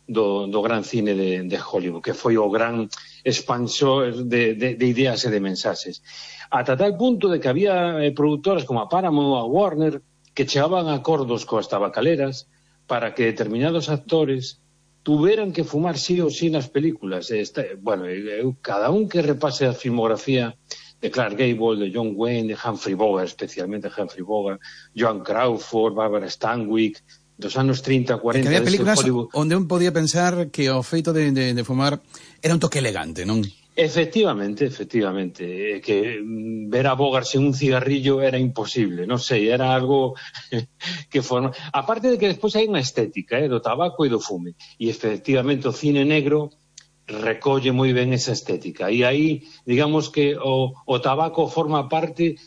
do gran cine de Hollywood, que foi o gran expansor de ideas e de mensaxes. Ata tal punto de que había produtoras como a Paramount ou a Warner que chegaban a acordos coas tabacaleras para que determinados actores tuveran que fumar sí ou sí nas películas. Cada un que repase a filmografía de Clark Gable, de John Wayne, de Humphrey Bogart, especialmente Humphrey Bogart, Joan Crawford, Barbara Stanwyck, dos anos 30, 40... Que había películas onde un podía pensar que o feito de fumar era un toque elegante, non? Efectivamente, que ver a Bogart sen un cigarrillo era imposible, non sei, era algo que forma... Aparte de que despois hai unha estética do tabaco e do fume, e efectivamente o cine negro recolle moi ben esa estética, e aí, digamos que o tabaco forma parte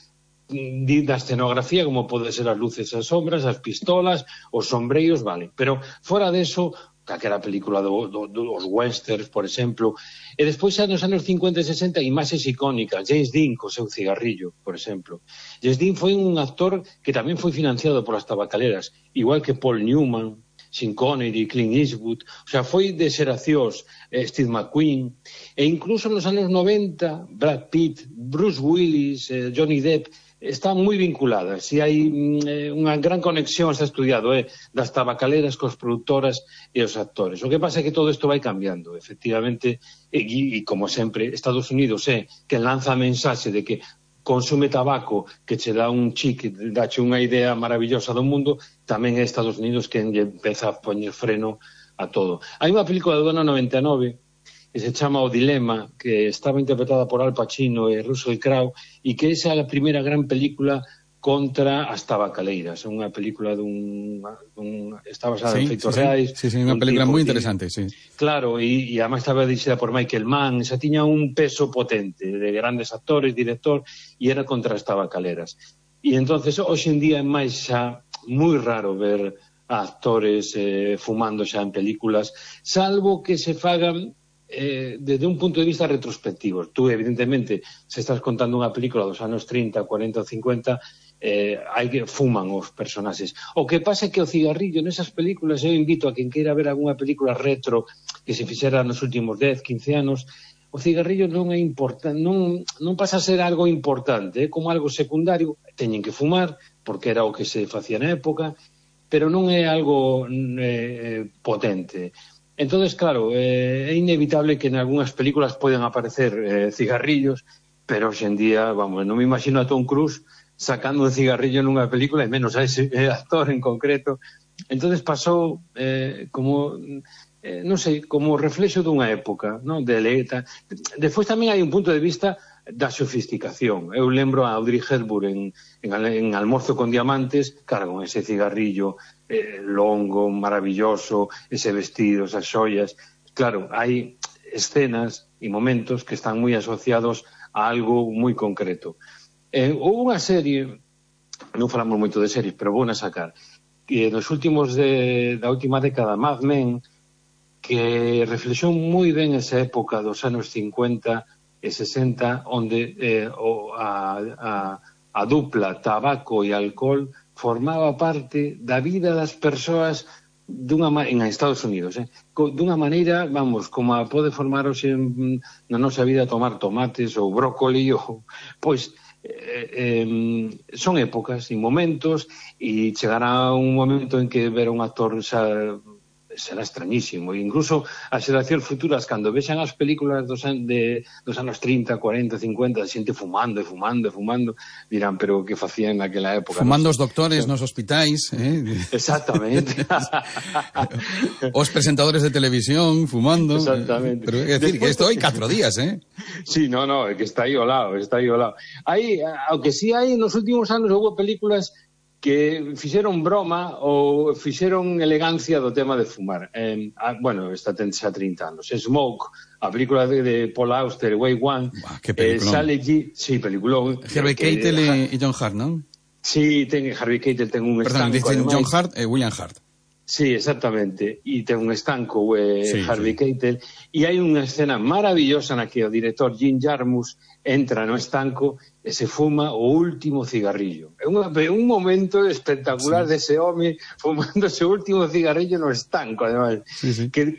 da escenografía, como pode ser as luces e as sombras, as pistolas, os sombreiros, vale, pero fora deso, calquera película dos westerns, por exemplo, e despois xa nos anos 50 e 60 imaxes icónicas, James Dean co seu cigarrillo, por exemplo. James Dean foi un actor que tamén foi financiado polas tabacaleras, igual que Paul Newman, Sean Connery, Clint Eastwood, o sea, foi de xeracións, Steve McQueen, e incluso nos anos 90, Brad Pitt, Bruce Willis, Johnny Depp, están moi vinculadas, e hai unha gran conexión, está estudiado, das tabacaleras cos produtoras e os actores. O que pasa é que todo isto vai cambiando, efectivamente, e como sempre, Estados Unidos é que lanza a mensaxe de que consume tabaco, que che dá un chic, dache unha idea maravillosa do mundo, tamén é Estados Unidos que empeza a poñer freno a todo. Hai unha película do ano 99 que se chama O Dilema, que estaba interpretada por Al Pacino e Russell Crowe, e que esa é a primeira gran película contra as tabacaleiras. É unha película está basada en feitos reais. Sí, unha película moi interesante, sí. Claro, e además estaba dirixida por Michael Mann, xa tiña un peso potente de grandes actores, director, e era contra as tabacaleras. E entonces, hoxe en día é máis xa moi raro ver a actores fumando xa en películas, salvo que se fagan desde un punto de vista retrospectivo. Tú, evidentemente, se estás contando unha película dos anos 30, 40 ou 50, hai que fuman os personaxes. O que pasa é que o cigarrillo nesas películas, eu invito a quen queira ver algunha película retro que se fixera nos últimos 10, 15 anos, o cigarrillo non é importante, non pasa a ser algo importante, é como algo secundario, teñen que fumar, porque era o que se facía na época, pero non é algo potente. Entonces, claro, é inevitable que en algunhas películas poden aparecer cigarrillos, pero hoxe en día, vamos, non me imagino a Tom Cruise sacando un cigarrillo nunha película, e menos a ese actor en concreto. Entonces pasou como, non sei, como reflexo dunha época, non? Despois tamén hai un punto de vista da sofisticación. Eu lembro a Audrey Hepburn en Almorzo con Diamantes, claro, con ese cigarrillo longo, maravilloso, ese vestido, esas xoias. Claro, hai escenas e momentos que están moi asociados a algo moi concreto. Houve unha serie, non falamos moito de series, pero vou na sacar, que nos últimos da última década, Mad Men, que reflexou moi ben esa época dos anos 50 e 60, onde a dupla tabaco e alcohol formaba parte da vida das persoas en Estados Unidos, dunha maneira, vamos, como pode formar hoxe na nosa vida tomar tomates ou brócoli, pois son épocas e momentos, e chegará un momento en que ver un actor será extrañísimo, e incluso as xeracións futuras, cando vexan as películas dos anos 30, 40, 50, de xente fumando e fumando e fumando, dirán, pero que facían naquela época? Fumando os doctores nos hospitais, Exactamente. Os presentadores de televisión fumando. Exactamente. Pero é dicir, que isto hai 4 días, Sí, no, é que está aí ao lado, aunque sí hai, nos últimos anos houve películas que fixeron broma ou fixeron elegancia do tema de fumar. Bueno, esta ten xa 30 anos. Smoke, a película de Paul Auster, Way One. Que peliculón. Sale allí, sí, peliculón. Harvey Keitel e John Hurt, non? Sí, Harvey Keitel ten un estanco. Perdón, John Hurt e William Hurt. Sí, exactamente. E ten un estanco Harvey Keitel. E hai unha escena maravillosa na que o director Jim Jarmusch entra no estanco e se fuma o último cigarrillo. É un momento espectacular dese home fumando ese último cigarrillo no estanco, además. Sí. Que